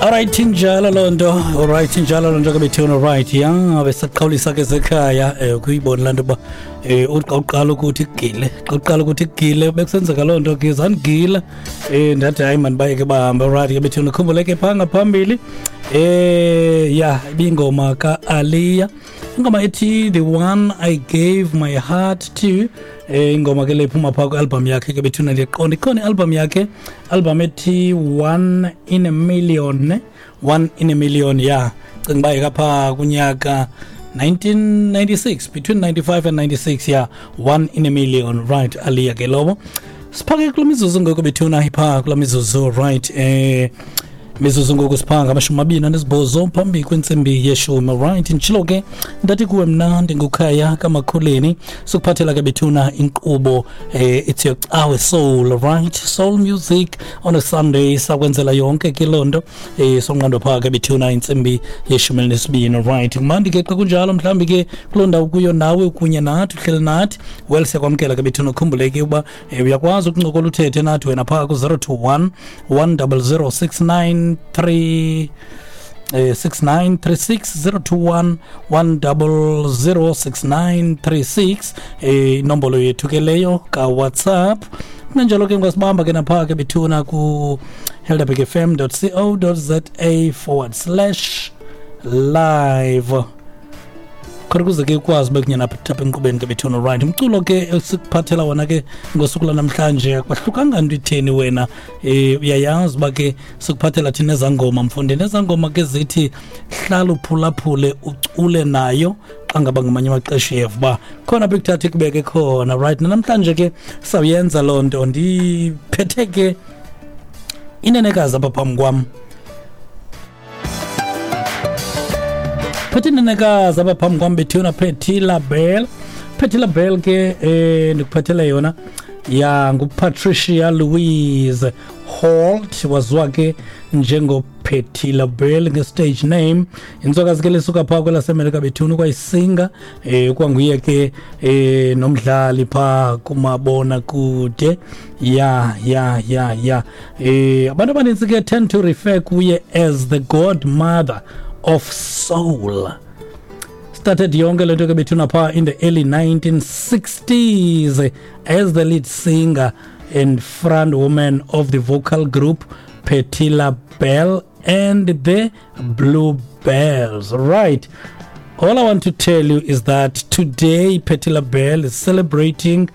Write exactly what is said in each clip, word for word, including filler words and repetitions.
Alright, injalo loo nto. Alright, injalo loo nto ke bethuna. Right, ya besaqhawulisa ke sekhaya eh kuyibona laa nto uba eh uthi xa uqala ukuthi igile, xa uqala ukuthi igile bekusenzeka loo nto ke zandigila. Eh ndathi hayi mani bayeke bahambe. Alright ke bethuna, khumbule ke phaa ngaphambili eh ya ibingoma ka-Aaliyah, ingoma ethi "The One I Gave My Heart To". Eh ingoma ke le iphuma phaa kwi-album yakhe ke bethuna. Ndiyaqiqonda ikhona i-album yakhe, album ethi One in a Million, ne? One in a Million, ya cinga uba yekapha kunyaka nineteen ninety-six, between ninety-five and ninety-six, ya One in a Million. Right, Aaliyah ke lowo. Siphake kula mizuzu ngoku bethuna, iphaa kula mizuzu. Right, eh mizuzu ngoku siphaa ngamashumi amabini anesibhozo phambi kwentsimbi yeshumi. Right, nditshilo ke ndathi kuwe mna ndinguKhaya kaMakhuleni, sikuphathela ke bethuna inkqubo eh it's your Cawe Soul, right? Soul music on a Sunday, sakwenzela yonke ke loo nto eh sonqando phaa ke bethuna intsimbi yeshumi elinesibini. Right, kumandi ke xa kunjalo. Mhlawumbi ke kuloo ndawo kuyo nawe kunye nathi, uhleli nathi. Well, siyakwamkela ke bethuna. Ukhumbule ke uba eh, uyakwazi ukuncokola uthethe nathi wena phaa ku-zero two one one zero zero six nine three eh, six nine three six, zero two one one zero zero six nine three six, eh inombolo yethu ke leyo ka-WhatsApp. Kunanjalo ke ungasibamba ke naphaa ke bethuna ku helderberg f m dot co dot za forward slash live, khona ukuze ke ukwazi ube kunye napha apha enkqubeni ke bethuna. Right, umculo ke esikuphathela wona ke ngosuku lwanamhlanje akwahlukanga nto itheni. Wena um uyayazi uba ke sikuphathela thina ezangoma, mfundini, ezangoma ke zithi hlala uphulaphule, ucule nayo xa ngaba ngamanye amaxesha uyeva uba khona apho ikuthatha ikubeke khona. Right, namhlanje ke sawuyenza loo nto. Ndiphethe ke inenekazi apha phambi kwam, phethe inenekazi apha phambi kwam bethuna, Patti LaBelle. Patti LaBelle ke eh ndikuphathele yona ya nguPatricia Louise Holt, waziwa ke njengoPatti LaBelle nge-stage name. Intswakazi ke lisuka phaa kwelaseMelika bethuna, ukwayisinga eh kwanguye ke eh nomdlali phaa kumabona kude. ya ya ya ya eh abantu abanintsi ke tend to refer kuye as the godmother of soul. Started yonke le nto ke bethuna phaa in the early nineteen sixties as the lead singer and front woman of the vocal group Patti LaBelle and the Bluebells. Right, all I want to tell you is that today Patti LaBelle is celebrating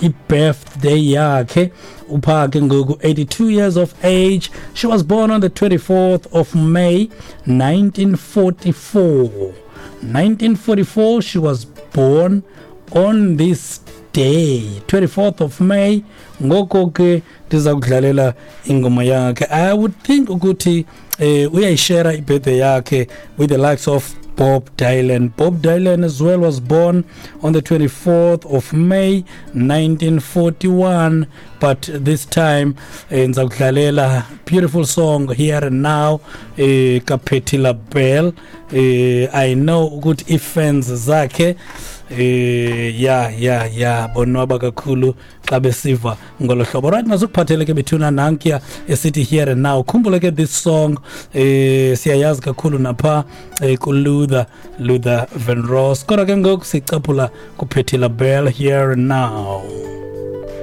i-birthday yakhe. Uphaa ke ngoku eighty-two years of age. She was born on the twenty-fourth of May nineteen forty-four. nineteen forty-four she was born on this day, twenty-fourth of May. Ngoko ke ndiza kudlalela ingoma yakhe. I would think ukuthi eh uyayishare ibirthday yakhe with the likes of Bob Dylan. Bob Dylan as well was born on the twenty-fourth of May nineteen forty-one, but this time eh, ndiza kudlalela beautiful song "Here and Now" eh kaPatti LaBelle. eh I know ukuthi ifans zakhe eh ya ya ya bonwaba kakhulu xa besiva ngolo hlobo. Right, masukuphathele ke bethuna nankiya esithi "Here and Now". Khumbule ke this song eh siyayazi kakhulu napha eh, kuLuther Luther Vandross, kodwa ke ngoku sicaphula kuPatti LaBelle, "Here and Now".